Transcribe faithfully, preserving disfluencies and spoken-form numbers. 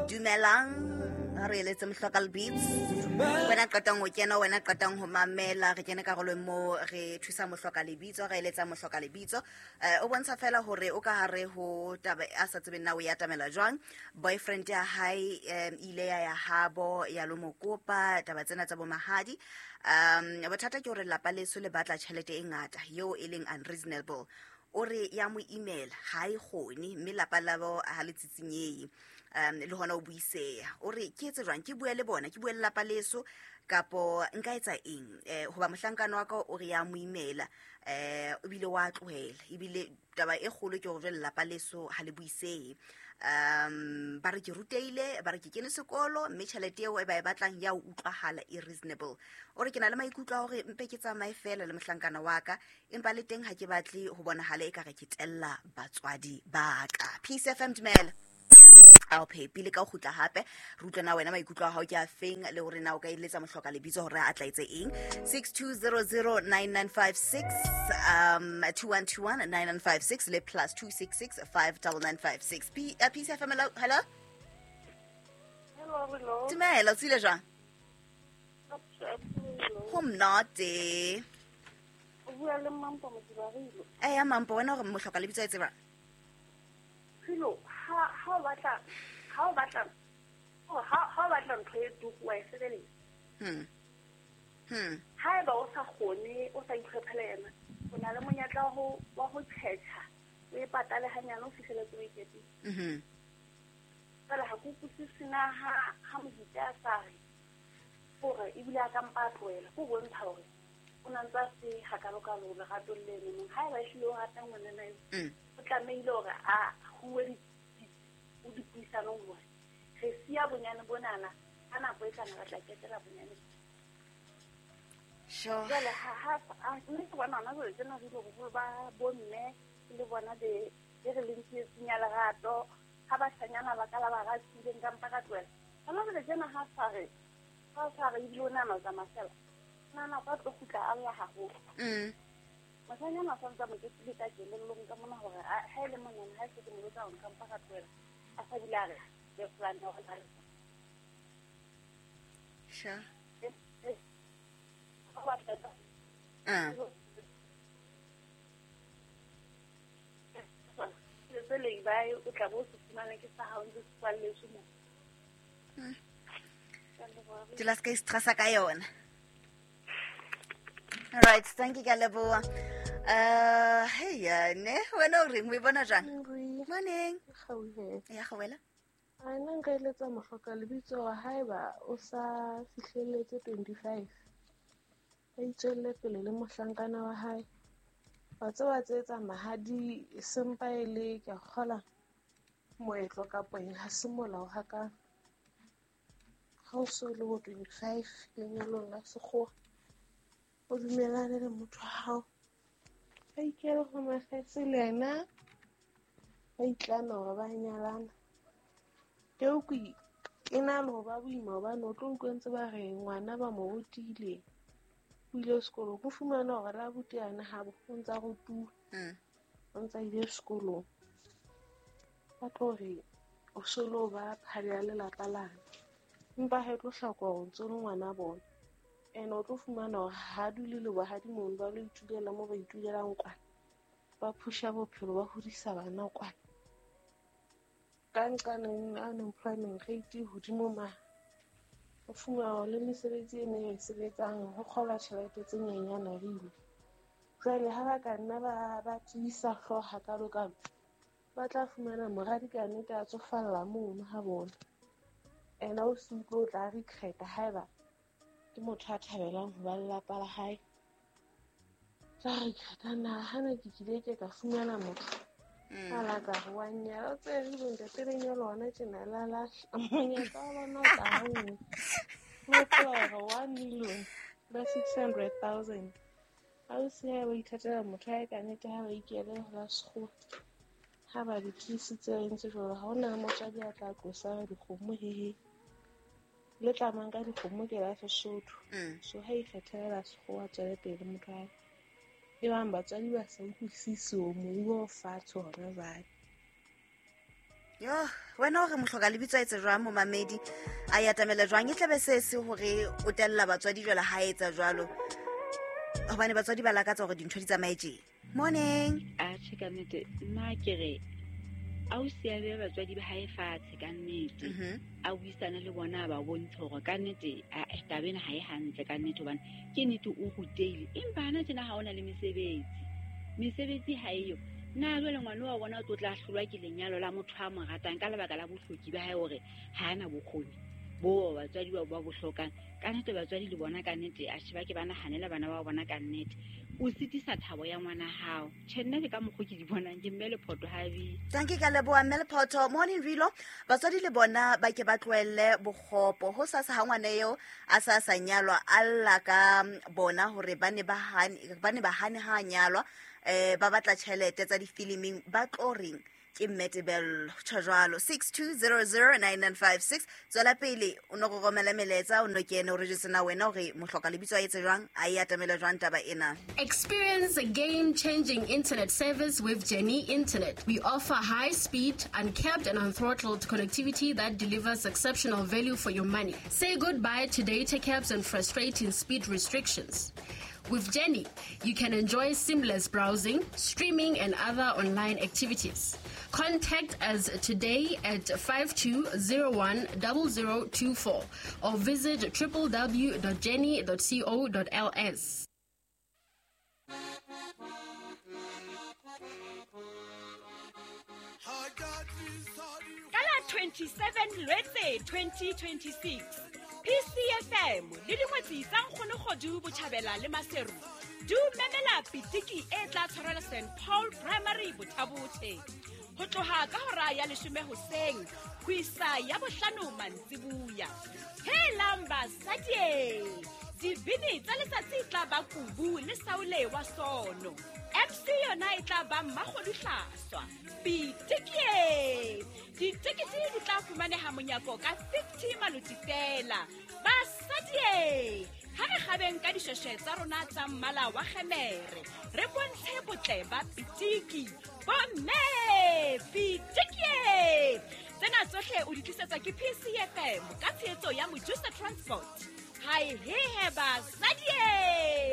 Dumelang, re eletse Mohloka Lebitso. Wena qetang ho kena, wena qetang ho mamela, re kene karolong mo re thusa Mohloka Lebitso, re eletsa Mohloka Lebitso. Eh, o bontsha fela hore o ka hare ho taba a sa tsebeng na o ya atamela jwang. Boyfriend ya hae em, ile ya ya habo ya lo mo kopa taba tsena tsa bo mahadi. Um, bothata ke hore lelapa leso le batla tjhelete e ngata eo e leng unreasonable. O re ya mo email ha e kgone mme lapa labo ha le tsitsinyehe, um le hona o buiseha. O re ke etse jwang, ke bue le bona, ke bue le lapa leso kapo nka etsa eng? Eh, hoba mohlankana wa ka o re ya mo emaila, eh, ebile wa tlohela, ebile taba e kgolo ke hore jwale lelapa leso ha le buisehe. Um ba re ke rutehile, ba re ke kene sekolo, mme tjhelete eo e ba e batlang ya utlwahala e reasonable. O re ke na le maikutlo a hore mpe ke tsamaye fela le mohlankana wa ka, empa le teng ha ke batle ho bonahala ekare ke tella batswadi ba ka. Peace F M, dumela. Ao phepile ka ho kgutla hape, re utlwe na wena maikutlo a hao ke a feng, le hore na o ka eletsa Mohloka Lebitso hore a tla etse eng. six two zero zero nine nine five six, um, two one two one nine nine five six le plus two six six five double nine five six. P, uh, Peace F M, hello, hello? Hello, hello. Dumela, o tswile jwang? Ho monate. O bua le Mampo Modibarilo. Eya, Mampo, wena hore Mohloka Lebitso a etse jwang? Philo, ha, ha o batla, ha o batla, oh, ha, ha o batla ntho e tuku wa e sebeletsa. Hmm. Hmm. Haeba o sa kgone, o sa itlhophele yena, o na le monyetla wa ho, wa ho tjhetjha, o e patale hanyane o fihleletse o e keteng. Mhm. Fela ha ke utlwisise na ha, ha mohite a sa re hore ebile a ka mpa a tlohela, ke ho bontsha hore o na ntse a se hakalokalo leratong leno. Nong haeba ehlile o rata ngwanana eo, Mm. o tlamehile hore a huwe di-, di-, o dipuisanong hore re siya bonyane bonana, ka nako e tlang re tla ketela bonyane. Sure. Jwale ha, ha, ha, mme ke bona hona jwale tjena re ile boholo ba bomme le bona be, be re leng tsietsing ya lerato, ha bashanyana ba ka la ba ratileng ka mpa ka tlohela. Hona jwale tjena ha sa re, ha sa re ebile o nahana ho tsamaya fela, o nahana o ka tlo kgutla a lla haholo. Mm. Moshanyana a sa ntse a mo ketile ka kelellong ka mona hore a, ha e le monana, ha e se ke mo jwetsa hore nka mpa ka tlohela, a sa bile a re, ke plan ya hore a re. Sure. Eh, eh. Ha ba tla. Ah. Tse leng ba e, o tla bo o se fumane ke sa hao, ntse se kwalletswe moo. Hmm. Ka leboha. Dula se ka i-stressa ka yona. All right, thank you, ka leboha. Uh, hey, uh, ne, wena o reng? O e bona jwang? Morning. Morning. Gauhela. Ya gauhela. A nna nka eletsa Mohloka Lebitso hore haeba o sa fihlelletse twenty-five, a itswelle pele le mohlankana wa hae. Wa tseba tse etsa mahadi sempa e le ke a kgola moetlo kapo eng, ha se molao hakalo. Ha o so le bo twenty-five lenyalong la sekgowa, o dumellane le motho wa hao, a ikele ho mafetse le yena, ba itlame hore ba nyalana. Eo ke e na le ho ba boima hobane o tlo utlwa ntse ba re ngwana ba mo rutile, o ile sekolong, o fumana hore la abuti yane habo o ntsa rutuwa, Mm. o ntsa ile sekolong. Ba tlo re o so lo ba phale ya lelapa lane, empa ha e tlo hlakoha hore o ntso le ngwana bona. Ene o tlo fumana hore ha dule le bohadi mono, ba lo itulela moo ba itulelang kwana, ba phusha bophelo, ba hodisa bana kwana. Ka nqane unemployment rate e hodimo ma, o fumana hore le mesebetsi e neng e sebetsang ho kgolwa tjhelete tse nyenyana re ile. Jwale ha ba ka nna ba, ba tiisa hlooho hakalo-kalo, ba tla fumana moradi ka nnete a tsofalla mono ha bona. Ena o se utlwe o tla regret-a haeba ke motho a thabelang ho ba lelapa la hae. Tla regret-a na ha ne ke kile ke ka fumana motho Mm. a la ka re wa nnyala, o tsebe re ntate lenyalo hona tjena la lahla. Monyetla wa bona o tla ha nngwe. O tloha hore one million ba six hundred thousand. Ha o se ha ba ithatela motho ha e ka nnete ha ba ikele ho la sekgowa. Ha ba di tiisitse ba entse jwalo, ha hona motswadi a tla tlosa dikgomo hehe. Le tlamang ka dikgomo ke la Sesotho. Mm. So ha ikgethela la sekgowa tswele pele motho wa hae. E bang batswadi ba sa utlwisise hore moruo o fatshe hona jwale. Yo, wena o re mohloka lebitso a etse jwang momamedi a e atamela jwang? E tlabe se se hore o tella batswadi jwale ha etsa jwalo, hobane batswadi ba lakatsa hore dintho di tsamaye tje. Morning. Atjhe, ka nnete nna ke re ausi a behe batswadi ba hae fatshe ka nnete, a buisane le bona, a ba bontshe hore ka nnete taba ena ha e hantle ka nnete, hobane ke nnete o rutehile, empa hana tjena ha ona le mesebetsi, mesebetsi ha eyo. Na jwale ngwana wa bona o tlo tla hlolwa ke lenyalo la motho a mo ratang ka lebaka la bohloki ba hae, hore ha ana bokgoni bo batswadi ba ba bo hlokang. Ka nnete batswadi le bona ka nnete atjhe ba ke ba nahanela bana ba bona ka nnete. O sitisa thabo ya ngwana hao. Tjhe, nna ke ka mokgwa ke di bonang, ke mme Lephoto ha bi. Thank you, ka leboha mme Lephoto. Morning Rilo. Batswadi le bona ba ke ba tlohelle bokgopo. Ho sasa ha ngwana eo a sa sa nyalwa, a lla ka bona hore ba ne ba hane, ba ne ba hane ha nyalwa, eh ba batla tjhelete tsa difiliming, ba tlo reng ke mme Tebello. Tjho jwalo. Six two zero zero nine nine five six. Tswela pele o no go romela melaetsa, o no kene o re jwetse na wena hore mohloka lebitso a etse jwang, a e atamela jwang taba ena. Experience a game-changing internet service with Jenny Internet. We offer high-speed, uncapped and unthrottled connectivity that delivers exceptional value for your money. Say goodbye to data caps and frustrating speed restrictions. With Jenny, you can enjoy seamless browsing, streaming, and other online activities. Contact us today at five two zero one zero zero two four or visit w w w dot jenny dot co dot l s. Kala twenty-seven Lwetse twenty twenty-six. P C F M le dingwetsi tsa Nkgonokgodu Botjhabela le Maseru di memela pitiki e tla tshwarelwa Saint Paul Primary Bothabothe ho tloha ka hora ya leshome hoseng ho isa ya bohlano mantsibuya. Helang basadi, dibini tsa letsatsi tla ba Kubu le Saule wa Sono. M C yona e tla ba Mmakgodu Hlaswa. Pitiki! Ditekete di tla fumaneha monyako ka fifty maloti fela. Basadi, ha re kgabeng ka dishweshwe tsa rona tsa mmala wa kgemere, re bontshe botle ba pitiki. Bomme, pitiki! Tsena tsohle o di tlisetswa ke P C F M ka tshehetso ya Mojusa Transport. Hai he he basadi!